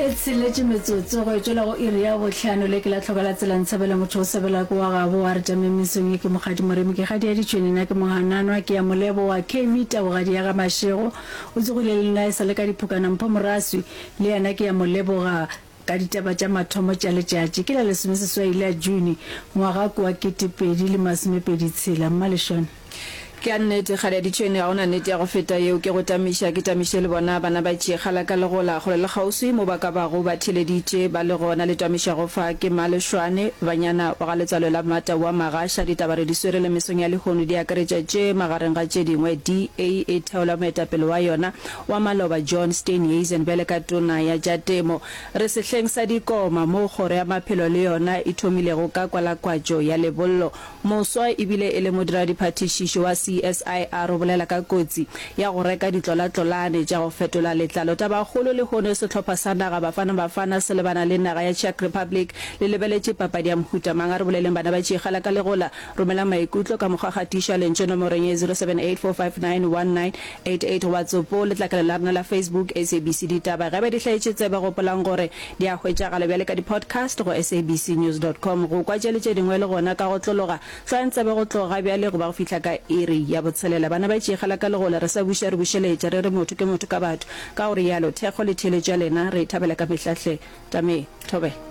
E tsheletše metsotso go e tšwela go iri ya bohlano. Le ke la hloka la tsela ntshebela motho o sebela ke wa gabo wa re tšameng mesong ye ke Mokgadi Moremi ke kgadi ya ditšhwene nna ke Mohananwa ke ya Molebo wa KV Tabogadi ya ga Mashego o tsogile le nna e sa le ka diphokana Mpho Moraswi le yena ke ya mo leboga ka ditaba tša mathomo tša letšatši ke la lesomeseswai la June ngwaga ke wa 2026 Mmaleshone. Ke a nnete, kgale ya ditšhwene, ga go na nnete ya go feta yeo. Ke go tamiša, ke tamiše le bona bana ba tšee kgala ka legola, kgole le kgauswi mo ba ka bago ba theeleditše ba le gona. Le tamišago fa ke Malešwane, banyana wa ga letswalo la Mmatau wa Magasha. Ditaba re di swere le mesong ya lehono di akaretša tše, magareng ga tše dingwe, DA e theola moetapele wa yona wa maloba John Steenhuisen bjale ka tona ya tša temo. Re sehleng sa dikoma moo kgoro ya maphelo le yona e thomilego ka kwalakwatšo ya lebollo. Moswa e bile e le modiradiphatišišo wa CSIR o bolela ka kotsi ya go reka ditlolatlolane tša go fetola letlalo. Tabakgolo lehono sehlopha sa naga Bafana Bafana se lebana le naga ya Czech Republic le lebeletše papadi ya mohuta mang? A re boleleng bana ba Tšikgala ka legola. Romela maikutlo ka mokgwa gatiša lentšu nomorong ye 0784591988 goba tsopo letlakala la rena la Facebook SABC Ditaba. Ge ba di hlaetše tsebe gopolang gore Di a hwetšagala bjale ka di-podcast go sabcnews dot com. Go kwa tše le tše dingwe le gona ka go tlologa. Hlwayang tsebe go tloga bjale go ba go fihla ka iri ya botshelela. Bana ba tšeegela ka legola, re sa buša re bušeletša, re re motho ke motho ka batho. Ka go rialo, thekgo le theeletšo ya lena re e thabela ka mehla hle. Tame, thobela.